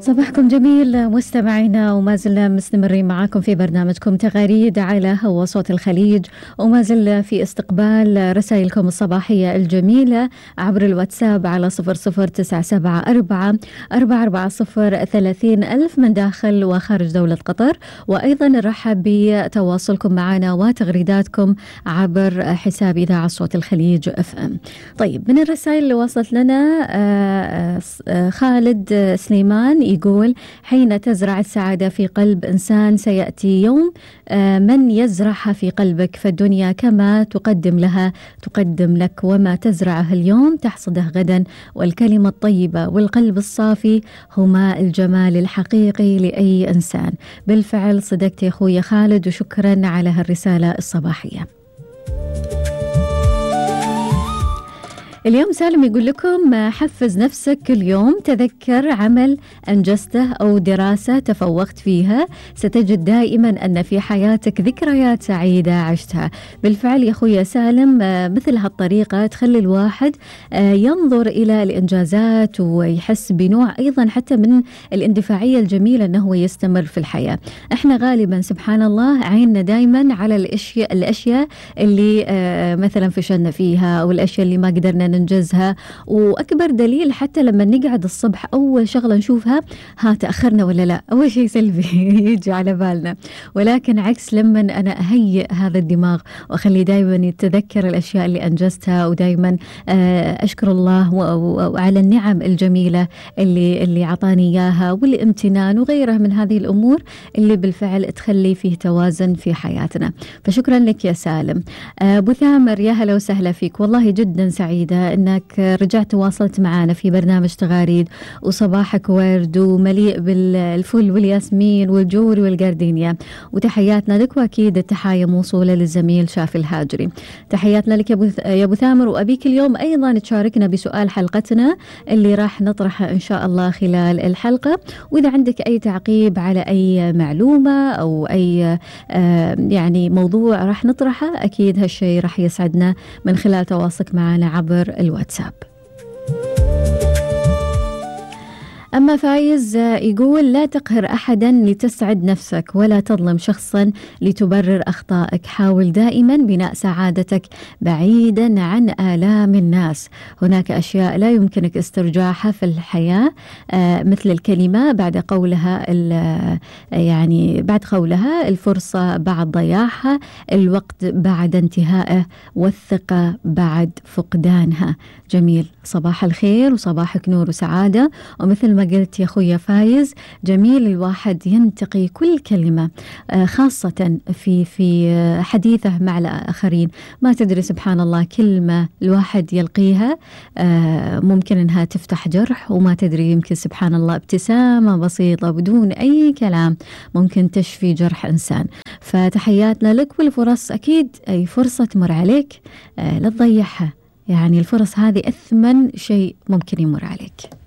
صباحكم جميل مستمعينا، وما زلنا مستمرين معاكم في برنامجكم تغاريد على هوا صوت الخليج، وما زلنا في استقبال رسائلكم الصباحية الجميلة عبر الواتساب على 00974 من داخل وخارج دولة قطر، وأيضا نرحب بتواصلكم معنا وتغريداتكم عبر حساب إذاعة صوت الخليج FM. طيب، من الرسائل اللي وصلت لنا خالد سليمان يقول: حين تزرع السعادة في قلب إنسان سيأتي يوم من يزرعها في قلبك، فالدنيا كما تقدم لها تقدم لك، وما تزرعه اليوم تحصده غدا، والكلمة الطيبة والقلب الصافي هما الجمال الحقيقي لأي إنسان. بالفعل صدقت يا أخوي خالد، وشكرا على هالرسالة الصباحية. اليوم سالم يقول لكم: حفز نفسك كل يوم، تذكر عمل أنجزته أو دراسة تفوقت فيها، ستجد دائما أن في حياتك ذكريات سعيدة عشتها. بالفعل يا أخوي سالم، مثل هالطريقة تخلي الواحد ينظر إلى الإنجازات ويحس بنوع أيضا حتى من الاندفاعية الجميلة أنه يستمر في الحياة. احنا غالبا سبحان الله عيننا دائما على الأشياء اللي مثلا فشلنا فيها، أو الأشياء اللي ما قدرنا ننجزها. وأكبر دليل حتى لما نقعد الصبح أول شغلة نشوفها تأخرنا ولا لا، أول شيء سلبي يجي على بالنا. ولكن عكس، لما أنا أهيئ هذا الدماغ وأخلي دائما يتذكر الأشياء اللي أنجزتها، ودائما أشكر الله وعلى النعم الجميلة اللي عطاني إياها، والامتنان وغيرها من هذه الأمور اللي بالفعل تخلي فيه توازن في حياتنا. فشكرا لك يا سالم. أبو ثامر، يا هلا وسهلا فيك، والله جدا سعيدة أنك رجعت وواصلت معنا في برنامج تغاريد، وصباحك ورد ومليء بالفل والياسمين والجوري والجاردينيا، وتحياتنا لك، وأكيد التحايا موصولة للزميل شافي الهاجري. تحياتنا لك يا أبو ثامر، وأبيك اليوم أيضا تشاركنا بسؤال حلقتنا اللي راح نطرحه إن شاء الله خلال الحلقة، وإذا عندك أي تعقيب على أي معلومة أو أي يعني موضوع راح نطرحه، أكيد هالشيء راح يسعدنا من خلال تواصلك معنا عبر الواتساب. أما فايز يقول: لا تقهر أحدا لتسعد نفسك، ولا تظلم شخصا لتبرر أخطائك، حاول دائما بناء سعادتك بعيدا عن آلام الناس. هناك أشياء لا يمكنك استرجاعها في الحياة، مثل الكلمة بعد قولها بعد قولها، الفرصة بعد ضياعها، الوقت بعد انتهائه، والثقة بعد فقدانها. جميل، صباح الخير وصباحك نور وسعادة. ومثل ما قلت يا أخوي فايز، جميل الواحد ينتقي كل كلمة، خاصة في حديثه مع الآخرين. ما تدري سبحان الله، كلمة الواحد يلقيها ممكن أنها تفتح جرح، وما تدري يمكن سبحان الله ابتسامة بسيطة بدون أي كلام ممكن تشفي جرح إنسان. فتحياتنا لك، والفرص أكيد أي فرصة تمر عليك لا تضيعها، يعني الفرص هذه أثمن شيء ممكن يمر عليك.